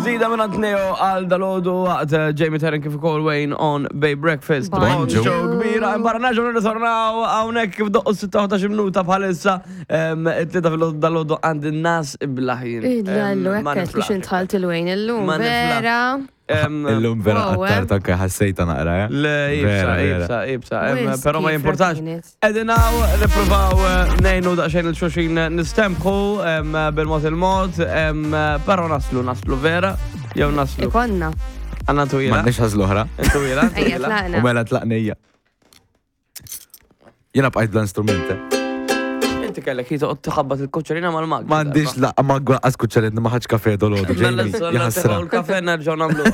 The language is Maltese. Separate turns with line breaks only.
Ġdida minn għand Neo għal dalodu waqt eh, Jamie Terren kif ukoll Wayne on Bay Breakfast.
Bonġu.
Show kbira, imbarra nerġgħu nirritornaw hawnhekk kif doqqu 16 minuta bħalissa it-tlieta fil dalodu għand in-nas iblaħin.
Idlallu, hekk biex intħalt il-Wayne illum.
Ma niflaħ.
Vera.
Illum vera
Wow, eh.
għattar tanka ħassejta naqra, eh?
Le, ibsa,
Vera, vera.
ibsa, ibsa. em,
Wisq
Però ma
kif
jimportax.
kienet.
Edinaw, nipruvaw eh, nejnu daqxejn il-xuxin nistempħu em, bil-mod il-mod, em, però naslu, naslu vera, jew naslu.
Ikonna.
Għanna twila.
M'għandniex ħażla oħra.
Twila,
Ejja,
twila.
U
tlaqna.
mela tlaqnija. Jiena bqajt bla instrument. eh.
Inti kellek hi toqgħod tħabbat il-kuċċerina mal-mag.
M'għandix laqqa ma għas kuċċaret ma ħadx kafe dolodu.
Mela,
Jamie, jaħasra.
l-kafe nerġgħu nagħmlu.